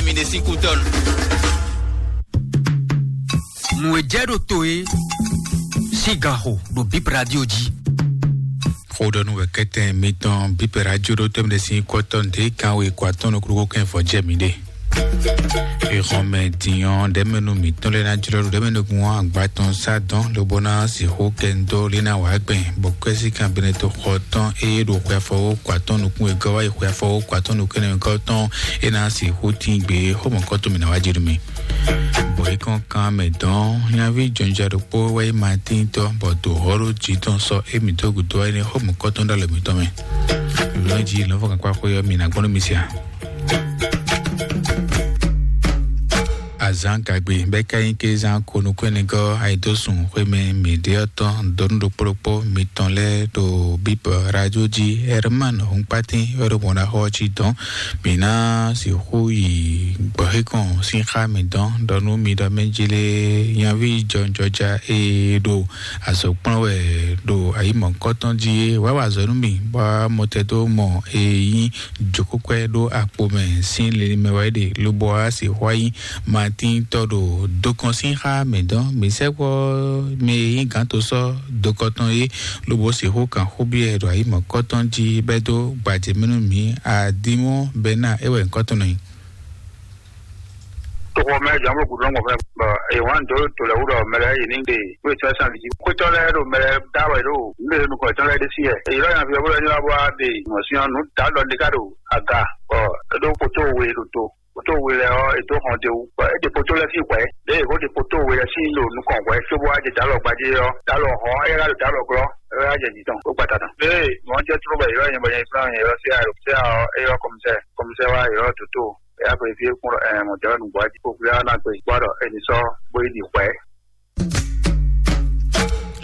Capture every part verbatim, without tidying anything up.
Mi ɖe sín kútɔ́nu. Nǔ e jɛ ɖo to e sín gaxo ɖo Bib Radio jí. Xóɖɔnú wɛkɛtɛn mitɔn Bib Radio ɖo tɛmɛ ɖe sín kɔtɔn ɖe kan we kɔ atɔn nukúnnú kɛn vɔ jɛ mi ɖe. Ìxɔnmɛ dìnyɔn ɖɛmɛnu mǐtɔn lɛ́ɛ ná jlɔ́ ɖo ɖɛmɛnu gun agba tɔn sá dɔn lobo ná sixú kɛ ndo lé ná wǎ gbɛn bɔ kwɛ́sí kan bɛnɛ to xɔ tɔn eye ɖo xwe afɔwó kɔ atɔn nukún wegɔ́ wá yi xwe afɔwó kɔ atɔn nukún ɛnɛ wegɔ́ tɔn é ná sixú tín gbe xɔmɔkɔ́tɔn mǐ ná wá jɛ nú mi. Bɔ é kɔn kan mɛ dɔn nyaví jɔnjɔ ɖokpó wá yi ma tíntɔ bɔ do hɔ́ ɖó jǐ tɔn sɔ émí dó gǔdo wá yi ní xɔmɔkɔ́tɔn ɖo alɔ mǐtɔn mɛ. Lɔ̌n jí lɔ̌nfɔ́n kankpá xwé ɔ́ mǐ ná gbɔn nú mi sia. Azǎn gagbe bɛ́ ká nyí kézán konukúnɛgɔ́ ayidósun xwémɛ mǐɖéɔtɔn dɔnú ɖokpó ɖokpó mitɔn lɛ́ɛ ɖo bíbɔ radio jí. Herman Hunkpatín wɛ ɖo mɔ̌ ná xɔ ɔ́ cí dɔn. Mǐ ná sixú yi gbɔ̌xíkɔn sín xá mǐ dɔn ɖɔ nú mi ɖɔ mɛ jí lé nyaví jɔnjɔja e ɖo azɔ̌ kplɔ́n wɛ ɖo ayǐmɔ̌kɔ́tɔn jí é wá wa azɔ̌ nú mì bɔ mɔtɛdómɔ e nyí jǒkúkwɛ́ ɖó akpo mɛ sín linlin mɛ wɛ é ɖe lobo wá sixú wá nyí Matín tɔ́ ɖo dokɔn sín xá mǐ dɔn. Mǐ sɛkpɔ́ mɛ e nyí gǎn to sɔ́ dokɔ tɔn é lobo sixú kan xó byɔ́ ɛ ɖo ayǐmɔ̌kɔ́tɔn jí bɛ́ dó gbajɛmɛ nú mǐ. Adimɔ́ Bɛnáa é wɛ nyǐkɔ tɔn nɔ nyí. Toxo mɛ jɔn bɔ gudɔ ŋgɔ fɛ bɔ èyí wan dó to lɛ wúlò mɛ lɛ yìí ní ɖe wíwí tɔ sàn lìjì kótó lɛ ɖo mɛ lɛ dá wɛ ɖo nílé nukɔ tɔn lɛ ɖe sí yɛ èyí lɔ yàn fi wúlò ní wá bɔ wá ɖe mɔ sí ɔn nú dá lɔ ní ká ɖo aga bɔ é ɖó kótó we ɖo to kótó we lɛ ɔ é dó hɔn de wú bɔ é ɖe kótó lɛ sí hwɛ ɖe é kó ɖe kótó we lɛ sí ɖo nukɔn hwɛ cóbó wá jɛ dá lɔ gbadé ɔ dá lɔ hɔn é ká ɖo dá lɔ glɔ é wá jɛ jǐ tɔn kó gbata tɔn. Ee mɔ jɛ tró bɔ èyí lɔ yẹn bɔ yẹn fúnra yẹn lɔ sí ayɔ sí ayɔ é yɔ kɔmísɛ kɔmísɛ wá èyí lɔ dótó. Eya xwe fí kún ɛ mɔ̌ jɛ nǔgbó jí kó fí ná gbe gbɔ ɖɔ eni sɔ́ bó yi ɖi hwɛ̌.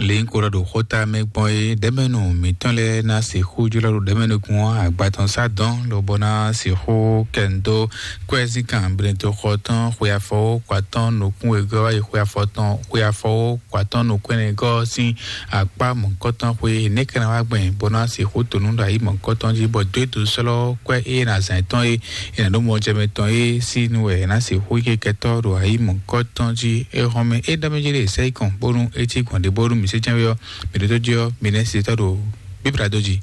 Lěnyíkó ɖɔ ɖo xóta mɛ gbɔn é ɖɛmɛnu mǐtɔn lɛ́ɛ ná sixú jlɔ́ ɖo ɖɛmɛnukun ɔ́ agba tɔn sá dɔn lobɔ ná sixú kɛ nu dó kwɛ́zínkan blɛ́ntoxɔ tɔn xwe afɔwó kɔ atɔn nukún wegɔ́ wá yi xwe afɔ tɔn xwe afɔwó kɔ atɔn nukún ɛnɛ gɔ́ sín akpá mɔ̌hunkɔtɔn xwe nɛ̌ ka ná wá gbɛn bó ná sixú to nǔ ɖo ayǐ mɔ̌hunkɔtɔn jí bɔ dó é dǒ sɔ́ lɔ́ kwɛ́ é ná zǎn tɔn é è nǎ ɖó mɔjɛmɛ tɔn é sín nu wɛ è nǎ sixú yí kɛtɔ́ ɖo ayǐ mɔ̌hunkɔtɔn jí. É hɔn mɛ é ɖɔ mɛ jí ɖe sɛ́ yi kɔn bónú é cí gbɔn ɖě bónú mǐ sé jɛ́n wé ɔ́, mǐ ɖótó jí ɔ́, mǐ nɛ́ se tɔ́ ɖo bíblá dó jí.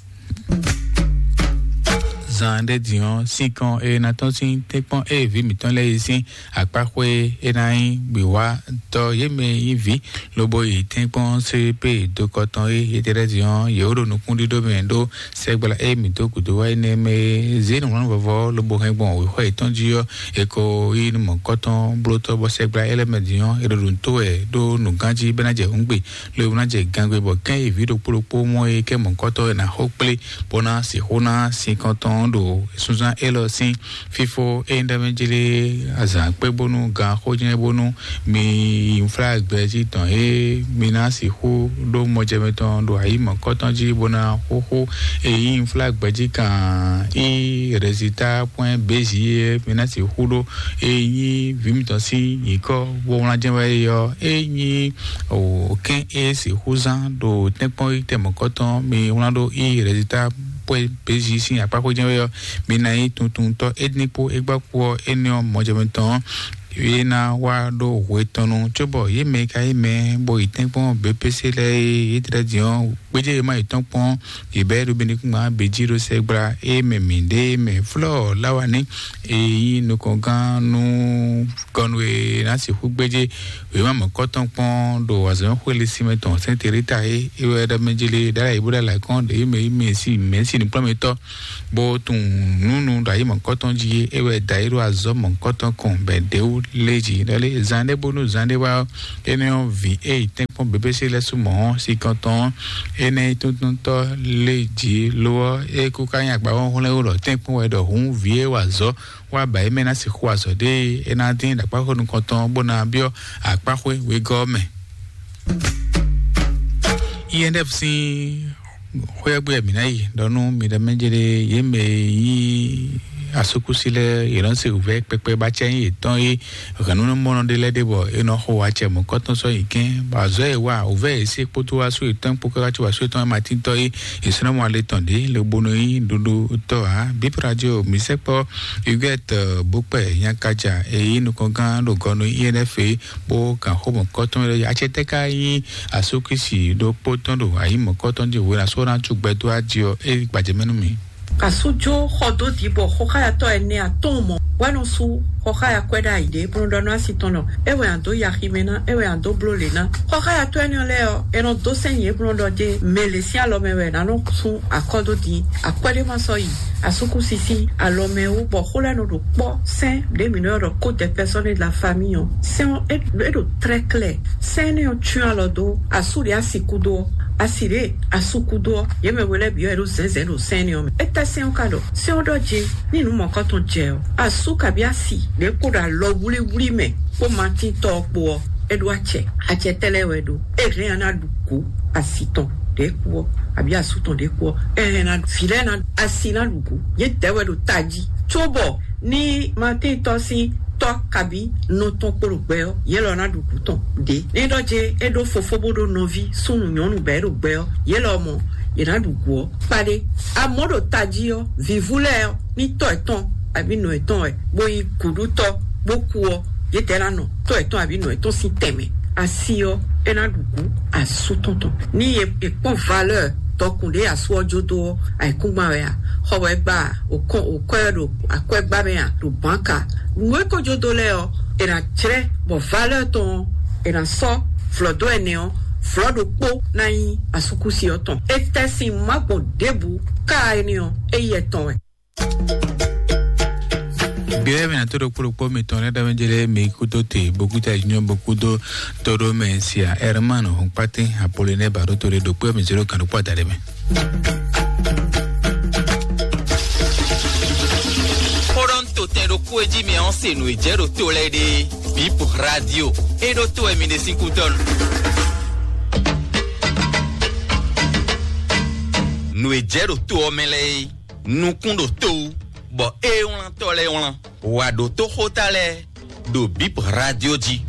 Zan ɖé din ɔ́, sínkɔn e ná tɔ́n sín tɛ́nkpɔ́n e vǐ mǐtɔn lɛ́ɛ yi sín akpáxwé e ná nyí gbǐwátɔ́ yě mɛ nyí vǐ lobo yi tɛ́nkpɔ́n C P dokɔ tɔn e yětɛ́ lɛ́ɛ din ɔ́, yě wó ɖo nukúnɖíɖó mɛ ɖó sɛgbla e mǐ dó gǔdo wá énɛ́ mɛ e zě nǔwlánú vɔvɔ lobo hɛn gbɔn wěxɔ yětɔn jí ɔ́, è ko yí nú mɔ̌kɔ́tɔn blótɔ́ bɔ sɛgbla e lɛ́ mɛ din ɔ́, è ɖo ɖo nǔ tó wɛ ɖó nǔgán jí bɔ é ná jɛ hǔngbe, lo e ná jɛ gangbe bɔ kɛ́n yi vǐ ɖokpó ɖokpó mɔ e kɛ́ mɔ̌kɔ́tɔ́ è nǎ xo kplé bó ná sixú ná sinkɔn tɔn ɖo sunzán élɔ́ sín fífó é nyí ɖɔ mɛ jí lé azǎn kpé bónú gan xó jɛ́n bónú mi yi nflá gbɛ jí tɔn é mi ná sixú ɖó mɔjɛmɛ tɔn ɖo ayǐ mɔ̌kɔ́tɔn jí bó ná xóxó e nyí nflá gbɛ jí kan í résultat point B J é mi ná sixú ɖó e nyí vǐ mitɔn sín nyǐkɔ bó wlán jɛ́n wɛ é ɔ́ é nyí o kɛ́n é sixú zán ɖo tɛ́nkpɔ́n yi tɛmɔ̌kɔ́tɔn mi wlán ɖó í résultat point B J sín akpá xó jɛ́n wɛ ɔ́ mi ná nyí tuntuntɔ́ é dín kpó é gbá kpó ɔ́ énɛ́ ɔ́ mɔjɛmɛ tɔn ɔ́ é ná wá ɖó hwe tɔn nu cóbɔ yě mɛ e ka nyí mɛ bó yi tɛ́nkpɔ́n B P C lɛ́ɛ é yě tlɛ din ɔ́ gbéjé e ma yi tɔn kpɔ́n yě bɛ́ ɖo bɛ́nɛkúngban bǐ jí ɖo sɛgbla é mɛ mǐɖée mɛ flɔ́ láwa ní e nyí nukɔngán nú kɔnu e ná sixú gbéjé wěma mɔ̌kɔtɔn kpɔ́n ɖo azɔ̌xwé lé sinmɛ tɔn sɛ́n Terita é é wɛ ɖɔ mɛ jí lé ɖ'ayǐ bó ɖ'alɛ kɔn ɖe yě mɛ yí mɛ sí mɛ sí nukplɔ́nmɛtɔ́ bó tunwun nǔ nu ɖo ayǐ mɔ̌kɔtɔn jí é wɛ da yě ɖo azɔ̌ mɔ̌kɔtɔn kɔn bɔ è ɖě wú lé jí ɖɔ lé zan ɖé bónú zan ɖé wá ɔ́, énɛ́ ɔ́ vǐ e yi tɛ́nkpɔ́n bebése lɛ́ɛ sú mɔ̌ ɔ́, sinkɔntɔn ɔ́, énɛ́ nyí túntúntɔ́ lé jí lo ɔ́, é kú ká nyí agba hɔ́nhlɛ́n wú ɖɔ tɛ́nkpɔ́n wɛ ɖɔ hǔn vǐ e wa azɔ̌ wá ba é mɛ ná sixú wa azɔ̌ ɖé é ná dín ɖo akpáxwé nukɔntɔn bó ná byɔ́ akpáxwé wegɔ́ ɔ́ mɛ. I N F sín xwé ɔ́ gbe wɛ mǐ ná yi ɖɔ nú mi ɖɔ mɛ jɛɖe yě mɛ e nyí Asúkúsi lɛ́ɛ yě nɔ se wǔvɛ́ kpɛkpɛ bá acɛ nyí yětɔn é. Hɛ̌nnumɔnɔ ɖé lɛ́ɛ ɖe bɔ é nɔ xo acɛ mɔ̌kɔtɔn sɔ́ yi kɛ́n, bɔ azɔ̌ e wa wǔvɛ́ e sí kpódó asú yětɔn kpó káká có asú yětɔn e ma tíntɔ́ é, è sɔ́ nɔ mɔ ale tɔn ɖě lobonu nyí ɖuɖutɔ́ ǎ. Bíp Radio mǐ sɛkpɔ́ Huguette Bokpɛ Nyakaja e nyí nukɔngán ɖo gɔnu I N F é, bó gǎn xó mɔ̌kɔtɔn lɛ́ɛ. Acɛ tɛ́ ka nyí asúkúsi ɖokpó tɔn ɖo ayǐ mɔ̌kɔtɔn jí hwenu asú ɔ́ ná cu gbɛ dó aji ɔ́, é gbajɛ mɛ nú mì. Asújó xɔ dó dǐ bɔ xɔxáyatɔ́ ɛnɛ atɔ́ɔ́n mɔ wɛ nɔ sú xɔxáya kwɛ́ ɖ'ayǐ ɖé bó nɔ ɖɔ nú asi tɔn ɖɔ é wɛ a dǒ yi aximɛ ná, é wɛ a dǒ bló lě ná. Xɔxáyatɔ́ énɛ́ lɛ́ɛ ɔ́, è nɔ dó sɛ́n nyǐ bó nɔ ɖɔ dé mɛ lě sín alɔ mɛ wɛ è nǎ nɔ sú akɔ́ dó din. Akwɛ́ ɖé ma sɔ́ yi asúkúsi sín alɔ mɛ wú bɔ xó lɛ́ɛ nɔ ɖo kpɔ́ sɛ́n ɖě mǐ nɔ ylɔ́ ɖɔ code de personne de la famille ɔ́. Sɛ́n ɔ́, é é ɖo très clair. Sɛ́n énɛ́ ɔ́ cyɔ́n alɔ dó asú ɖě asi kúdó ɔ́, asi ɖě asú kúdó ɔ́, yě mɛ we lɛ́ɛ bǐ ɔ́, è ɖo zɛ̌nzɛ̌n ɖo sɛ́n énɛ́ ɔ́ mɛ. É tɛ́ sɛ́n ɔ́ ka ɖɔ? Sɛ́n ɔ́ ɖɔ jí ní nǔ mɔ̌kɔtɔn jɛ ɔ́, asú kabí asi ɖě kpo ɖo alɔ wlíwlí mɛ kpó Matín tɔ́ ɔ́ kpó ɔ́, é ɖó acɛ. Acɛ tɛ́ lɛ́ɛ wɛ ɖó? É hɛn ɔ́ ná ɖu gǔ asi tɔn ɖě kú ɔ́, abǐ asú tɔn ɖě kú ɔ́, é hɛn ná vǐ lɛ́ɛ ná asi ná ɖu gǔ. Yě dɛ̌ wɛ ɖo tají, cóbɔ ní Matín tɔ́ sín tɔ́ kabí nɔ tɔn kpo ɖo gbɛ ɔ́, yě lɔ ná ɖu gǔ tɔn ɖě. Ní ɖɔ jɛ é ɖó fofó bó ɖó nɔví súnnu nyɔ̌nu bɛ̌ ɖo gbɛ ɔ́, yě lɔ mɔ yě ná ɖu gǔ ɔ́ kpaɖé. Amɔ̌ ɖo tají ɔ́, vǐvú lɛ́ɛ ɔ́, ní tɔ́ yětɔn abǐ nɔ yětɔn wɛ, bó nyí gǔɖútɔ́ bó kú ɔ́, yědɛɛ ná nɔ tɔ́ yětɔn abǐ nɔ yětɔn sín tɛnmɛ. Asi ɔ́, é ná ɖu gǔ asú tɔn tɔn. Ní è è kpɔ́n valeur dɔkun ɖé asú ɔ́ jó dó ɔ́, ayǐkúngban wɛ a? Xɔ wɛ gba a? Òkɔn òkɔ́ ɛ ɖo akwɛ́gbá mɛ a? Ɖo bǎnka. Nǔ e ko jó dó lɛ́ɛ ɔ́, è nǎ jlɛ́ bɔ valeur tɔn ɔ́, è nǎ sɔ́ vlɔ̌ dó ɛnɛ ɔ́, vlɔ̌ ɖokpó ná nyí asúkúsi ɔ́ tɔn. È tɛ sin má gbɔn ɖěbǔ ká énɛ́ ɔ́, é yɛ tɔn wɛ. Gbɛ́ mɛ ató ɖokpó ɖokpó mitɔn lɛ́ɛ ɖ'amɛ jɛ lɛ́ɛ mi kúdó te bokúta junior bokúdó tóɖó mɛ sia Herman Hɔnkpátín Apollinaire Baɖó to ɖe ɖokpó mi zéro kan ɖokpó adaɖɛ mɛ. Xóɖɔ́ntotɛn ɖokpó e jí mi ɔ́ se nǔ e jɛ ɖo to lɛ́ɛ ɖe. Bip Radio e ɖo to wɛ mi ɖe sín kútɔ́ nu. Nǔ e jɛ ɖo to ɔ́ mɛ lɛ́ɛ é, nukún ɖo to wú, bɔ ée wlántɔ́ lɛ́ɛ wlán. Wǎ ɖótó xóta lɛ́ɛ ɖo Bip Radio jí.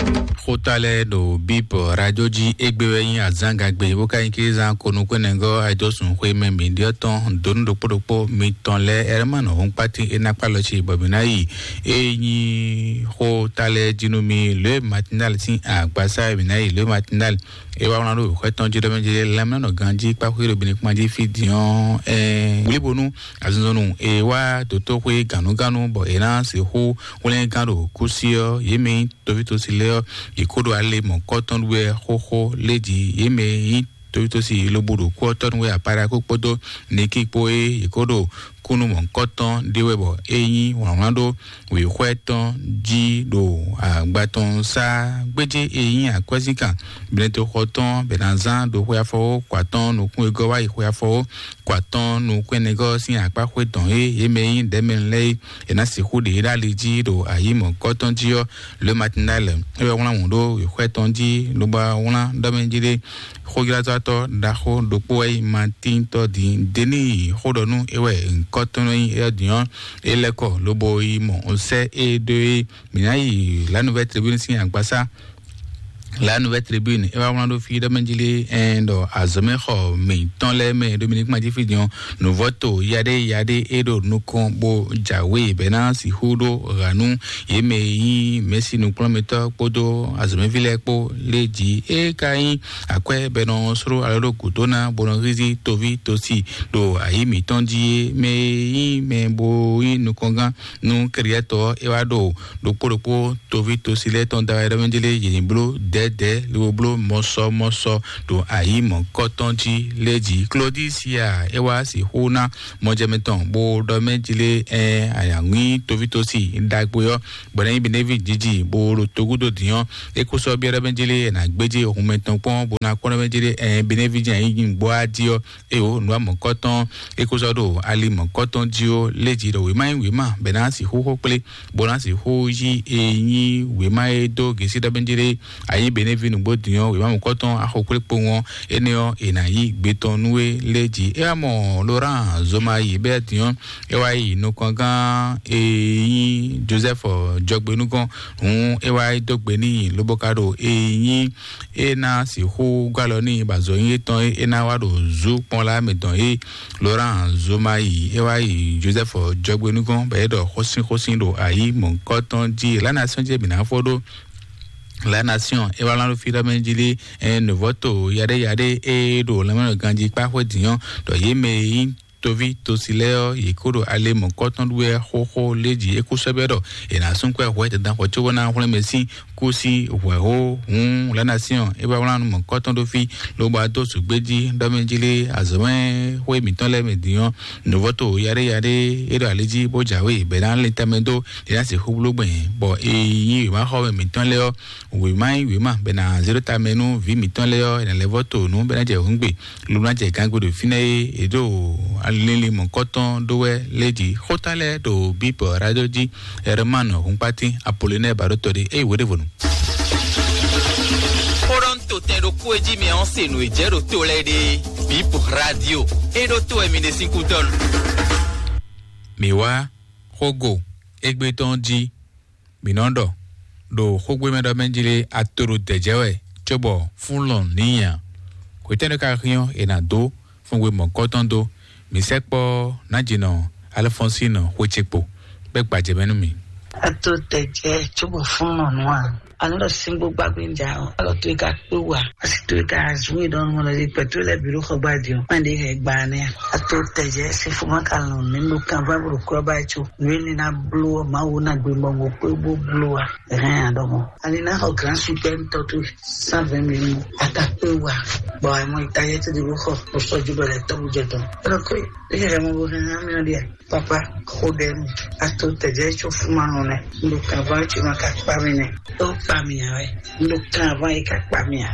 Xóta lɛ́ɛ ɖo Bip Radio jí égbé wɛ nyí azǎngagbe bó ka nyí kézán konukúnɛgɔ́ ayédósùn xwé mɛ mǐ ɖyɔ́ tɔn dǒnú ɖokpó ɖokpó mitɔn lɛ́ɛ Herman Hɔnkpátín é ná kpá lɔ ci bɔ mǐ ná yi. É nyí xóta lɛ́ɛ jí nú mi lě matinal sín agbasá mǐ ná yi lě matinal. É wá wlán ɖó xwɛ tɔn jí ɖɔ mɛ jí lɛ́mlánɔ ganjí kpáxwé ɖo bini kpán jí fí din ɔ́, ɛɛ wlíbonú azinzɔnnu e wá dǒtóxwé gǎnúgánú bɔ è ná sixú hwlɛ́ngán ɖo kúsí ɔ́, yě mɛ nyí tovítɔ́si lɛ́ɛ ɔ́, yě kó ɖo ale mɔ̌kɔ́tɔn ɖu wɛ xóxó lé jí. Yě mɛ nyí tovítɔ́si lobo ɖo kú ɔ́ tɔ́ nu wɛ apáɖakú kpódó nikí kpó é yě kó ɖo kúnnu mɔ̌kɔ́tɔn ɖé wɛ bɔ é nyí wlǎnwlán ɖó wěxwɛ́ tɔn jí ɖo agba tɔn sá gbéjé e nyí akwɛ́zínkan. Blɛ́ntoxɔ tɔn bɛ ná zán ɖo xwe afɔwó kɔ atɔn nukún e gɔ́ wá yi xwe afɔwó kɔ atɔn nukún ɛnɛgɔ́ sín akpá xwé tɔn e yě mɛ nyí ɖɛ̌mɛnu lɛ́ɛ é, è nǎ sixú ɖe yě ɖo ali jí ɖo ayǐ mɔ̌kɔ́ tɔn jí ɔ́, Le Matinal é wɛ wlán wǔ ɖó wěxwɛ́ tɔn jí lobo wlán ɖɔ mɛ jí ɖé. Xójlázɔ́tɔ́ ɖaxó ɖokpó wɛ nyí Matíntɔ́ din Denii xó ɖɔ nú é wɛ ŋkɔ́ tɔn nɔ nyí éyɔ́ din ɔ́, é lɛ́ kɔ lobo yi mɔ sɛ́ é ɖó é. Mǐ ná yi La Nouvelle Tribune sín agbasá. La Nouvelle Tribune é wá wlán ɖó fí ɖɔ mɛ jí lé ɛn ɖɔ azɔ̌mɛxɔ mǐtɔn lɛ́ɛ mɛ Dominique Madjifi din ɔ́, nǔvɔ́to yaɖé yaɖé é ɖo nukɔn bó jǎwe bɛ́ ná sixú ɖó ɣa nú yě mɛ e nyí mɛ̌si nukplɔ́nmɛtɔ́ kpódó azɔ̌mɛví lɛ́ɛ kpó lé jí é ka nyí akwɛ́ bɔ è nɔ sló alɔ ɖó gǔdo ná bó nɔ hízí toví tosi ɖo ayǐ mǐtɔn jí é. Mɛ e nyí mɛ bo nyí nukɔngán nú kɛɖyɛ́tɔ́ ɔ́, é wá ɖo ɖokpó ɖokpó toví tosi lɛ́ɛ tɔn da wɛ ɖɔ mɛ jí lé yě ní bló dɛ̌dɛ̌ lobo bló mɔsɔmɔsɔ ɖo ayǐ mɔ̌kɔ́tɔn jí lé jí. Klodisia é wá sixú ná mɔjɛmɛ tɔn bó ɖɔ mɛ jí lé ɛ ayǎŋwí toví tosi ɖagbe ɔ́ bɔ ná nyí Benevi jiji bó ɖo togúdo dǐn ɔ́, é kó sɔ́ byɔ́ ɖɔ mɛ jí lé ɛ nǎ gbéjé hun mɛtɔn kpɔ́n bó ná kpɔ́n ɖɔ mɛ jí lé ɛ Benevi jɛ nyí gbɔ́ á jí ɔ́, é o nǔ amɔ̌kɔ́tɔn é kó sɔ́ ɖo ali mɔ̌kɔ́tɔn jí ó lé jí ɖɔ wěma nyí wěma bɛ ná sixú xó kplé bó ná sixú yí e nyí wěma e dó gěsí ɖɔ mɛ jí lé ayé Benin vi nǔgbó din ɔ́, wěma mɔ̌kɔtɔn axɔkúlé kpowun ɔ́, énɛ́ ɔ́, è nǎ yí gbe tɔn nú we lé jí. É wá mɔ Laurent Zomayi bɛ́ din ɔ́, é wá yi nukɔngán e nyí Joseph Jɔgbenúgɔn, hǔn é wá yi dó gbe n'i, lobo ka ɖo e nyí é ná sixú gɔ́ alɔ n'i, bɔ azɔ̌ nyí étɔn é ná wá ɖo zú kpɔ́n lá mɛ tɔn é. Laurent Zomayi é wá yi Joseph Jɔgbenúgɔn, bɔ é ɖɔ xósínxósín ɖo ayǐ mɔ̌kɔtɔn jí. La Nation jí è bǐ ná fɔ ɖó. La Nation é wá lán ɖo fí ɖɔ mɛ jí lé, ɛ nǔvɔ́to yaɖé yaɖé é ɖo lɛmɛnɔ ganjí kpá xwé dǐn ɔ́, ɖɔ yě mɛ e nyí toví tosi lɛ́ɛ ɔ́, yě kó ɖo ale mɔ̌kɔtɔn ɖu wɛ xóxó lé jí é kú sɔ́ bɛ́ ɖɔ è nǎ sún kwɛ hwɛ dandan xɔ cóbó ná hwlɛ́n mɛ sín kú sí hwɛ̌ hó. Hǔn La Nation é wá wlán nú mɔ̌kɔtɔn ɖó fí, lobo adó zǔgbé jí ɖɔ mɛ jí lé azɔ̌mɛ xwé mǐtɔn lɛ́ɛ mɛ dǐn ɔ́, nǔvɔ́to yaɖé yaɖé é ɖo ali jí bó jǎwe bɛ̌ ná lin tɛnmɛ dó, é ná sixú bló gbɛn, bɔ è nyí wěmaxɔmɛ mǐtɔn lɛ́ɛ ɔ́, wěma nyí wěma bɛ ná zé ɖó tamɛ nú vǐ mǐtɔn lɛ́ɛ ɔ́, è nǎ lɛ́ vɔ́ to nǔ bɛ ná jɛ hǔngbe, lo ná jɛ gǎngbe ɖo fínɛ́ é, è ɖo alili mɔ̌kɔtɔn ɖó wɛ lé jí. Xóta lɛ́ɛ ɖo Bíbɔ Radio jí, Herman Hunkpatín, Apollinaire Baɖótɔ́ ɖé, é yi wǒ ɖěvo nu. Xó ɖɔ un to tɛn ɖokpó e jí mɛ ɔ́ se nǔ e jɛ ɖo to lɛ́ɛ ɖe. Bíbɔ Radio, é ɖó to wɛ mi ɖe sín kútɔ́ nu. Mǐ wá xógo égbé tɔn jí. Mǐ nɔ ɖɔ ɖo xógbémɛ ɖɔ mɛ jí lé, ato ɖo dɛ̌jɛ́ wɛ, cóbɔ fún lɔn nǐ nya. Hwetɛ́nu ka hín ɔ́, è nǎ dó fúngbé mɔ̌kɔtɔn dó. Mǐ sɛkpɔ́ nǎjínɔ Alfɔnsín xwé ce kpo bɛ́ gbajɛ mɛ nú mì. Ato dɛ̌jɛ́ cóbɔ fún lɔn nǔ a? Anɔ ɖɔ síngbó gbàgbé ń jà ɔ. Alɔ tó ka kpé wà, asi tó ka zun yi ɖɔnu mɔ lɔdzi pɛtó lɛ bi ɖo xɔ gbadzi ɔ. Mɛɖe hɛ gba nɛ. Ato tɛjɛ si fuma ka lɔn mi ɖo kan va bro kura ba tso. Nue ni na blo ma wo na gbe mɔ mo kpé bo blo wa. Ɛhɛn, adɔmɔ. Ani na xɔ grand super ntɔ to cent vingt mille. Ata kpé wà. Bɔ amɔ ita yɛ ti di bo xɔ. Bo sɔ ju bɛlɛ tɔ bu jɛ tɔ. Ɛlɔ ko e hɛ mɔ bo hɛ hã mi ɔ dia. Papa, xo ɖe mi. Ato tɛjɛ tso fuma nɔ nɛ. Ndo kan va tso ma ka kpa mi nɛ. To kpa mi ya wɛ. Ndo kan va yi ka kpa mi ya.